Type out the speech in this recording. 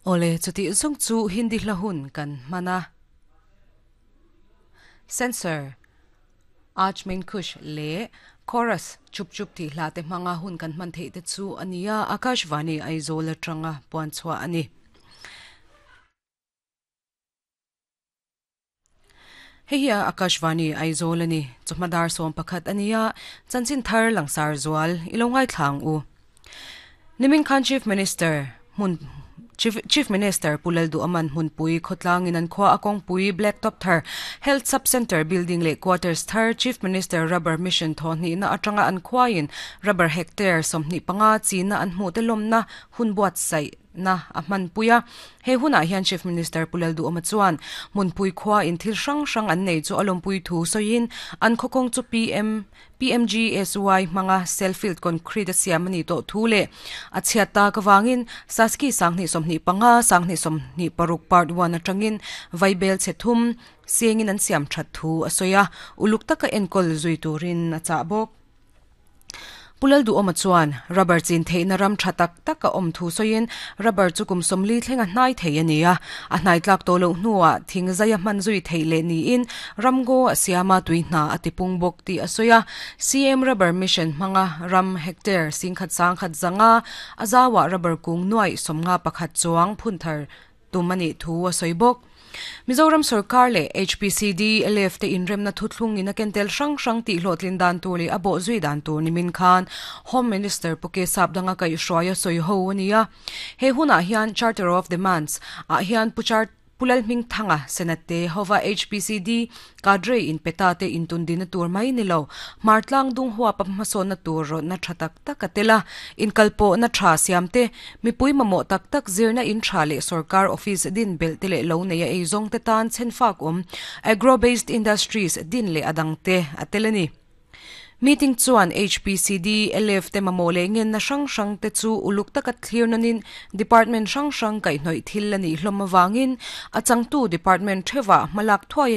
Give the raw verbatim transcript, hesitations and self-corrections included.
Ole chuti zong chu Hindi hla hun kan mana Censor Aaj Main Khush le chorus chup chup ti hla te hmanga hun kan hman thei te chu ania Akashvani Aizawl atanga puan chhuah ani. Hei hi Akashvani Aizawl ani chawhma som pakhat ania chanchin thar langsar zual ilo ngai thlang u. Nimin Khan Chief Minister mun Chief, Chief Minister Pulal Du Aman Hunpui khotlang in an khwa akong pui Blacktop thar Health Sub Center building le quarters thar Chief Minister Rubber Mission thoni na atanga an khwain rubber hectare somni panga china an hmu te lomna hunbuat sai na a hman puia he huna hian Chief Minister Pulal Du Ama chuan Munpui khwa in thil hrang hrang an nei chu alompui thu soin an khokong chu P M P M G S Y manga self-filled concrete a siam ani to thu le a chhiata ka wangin saski sangni somni panga sangni somni paruk part one atangin vaibel chethum siangin an siam that thu asoya uluk taka enkol zui turin a cha bawk. Pulal Du Ama chuan rubber chin theina ram thatak taka om thu soin rubber chu kum somli thlenga hnai thei ania a hnai tlak to lo hnuwa thingzaya man zui thei le ni in ramgo siama tuihna atipung bok ti asoya C M Rubber Mission hmanga ram hectare singkhat sangkhat zanga azawa rubber kung nuai somnga pakhat chuang phunthar tumani thu asoibok. Mizoram Sarkar le H P C D L F te inrem na thuthlung in a kentel hrang hrang ti hlotlin dan tur le abo zui dan tur nimin khan Home Minister Puke Sapdanga kai hruaia soi ho ania he huna hian Charter of Demands a hian puchar Pulal Ming Thanga Senate hova H P C D cadre in peta te intun din tur mai nilo martlang dung huwa pamhaso na tur ro na thatak tak atela in kalpo na tha siam te mipui mamo tak tak zirna in tha le sarkar office din bel te le lo nei ei zong te tan chenfak om agro based industries din le adang te atelani. Meeting chuan H P C D L F te mamole ngen na hrang hrang te chu uluk taka thlir nanin department hrang hrang kai hnoi thil ani hlom awangin achangtu department thewa malak thuai